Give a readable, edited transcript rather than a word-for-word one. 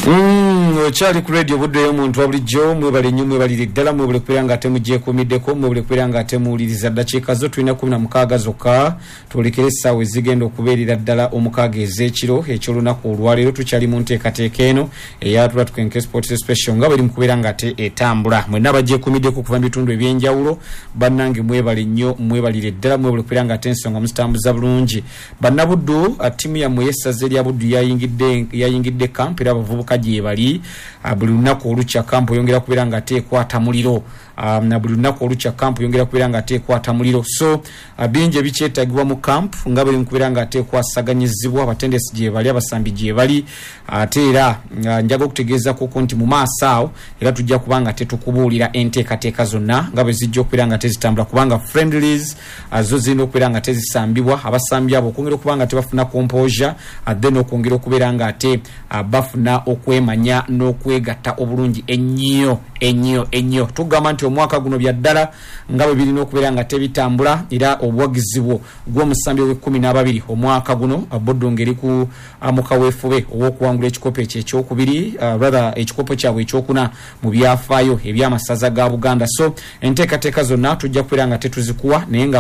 Okyali ku radio Buddu ey'omuntu wa bulijjo. Mwebale nnyo, mwebalire ddala, mwebale kubeera nga ate mugyekuumiddeko, mwebale kubeera nga ate muwuliriza. Ddakiika zo tulina 16 zokka twolekere essaawa ezigenda okubeerera ddala 6 ez'ekiro eky'olunaku olwaleero. Tukyali mu nteekateeka eno eya Tula Tukenke Sports Special nga bweri mu kubeera nga ate etambula. Mwenna abagyekuumiddeko okuva mu bitundu eby'enjawulo, bannange mwebale nnyo, mwebalire ddala, mwebale kubeera nga ate ensonga muzitambuza bulungi. Bannabuddu, ttiimu yammwe ey'essaza erya Buddu yayingidde yayingidde kampu era abavubuka gyebali. Buli lunaku olukya kampu eyongera kubeera nga ate ekwata muliro. Na buli lunaku olukya kampu eyongera kubeera nga ate ekwata muliro. So bingi ebikyetagibwa mu kampu nga bweri mu kubeera nga ate ekwasaganyizibwa. Abatendesi gyebali, abasambi gyebali. Ate era njaga okutegeezakuku nti mu maaso agho era tujja kuba nga tetukubuulira enteekateeka zonna nga bwe zijja okubeera nga tezitambula, kubanga friendlies zo zirina okubeera nga tezisambibwa, abasambi abo okwongera okuba nga tebafuna composure, then okwongera okubeera nga ate bafuna okwemanya n'okwegatta obulungi ennyo ennyo ennyo. Tugamba nti omwaka guno bya ddala nga bwe birina okubeera nga tebitambula, era obuwagizi bwo gw'omusambi ow'ekkumi n'ababiri omwaka guno, Buddu ng'eri ku mu kaweefube ow'okuwangula ekikopo ekyo ekyokubiri, rather ekikopo kyabwe ekyokuna mu byafaayo eby'amasaza ga Buganda. So enteekateeka zonna tujja kubeera nga tetuzikuwa naye nga.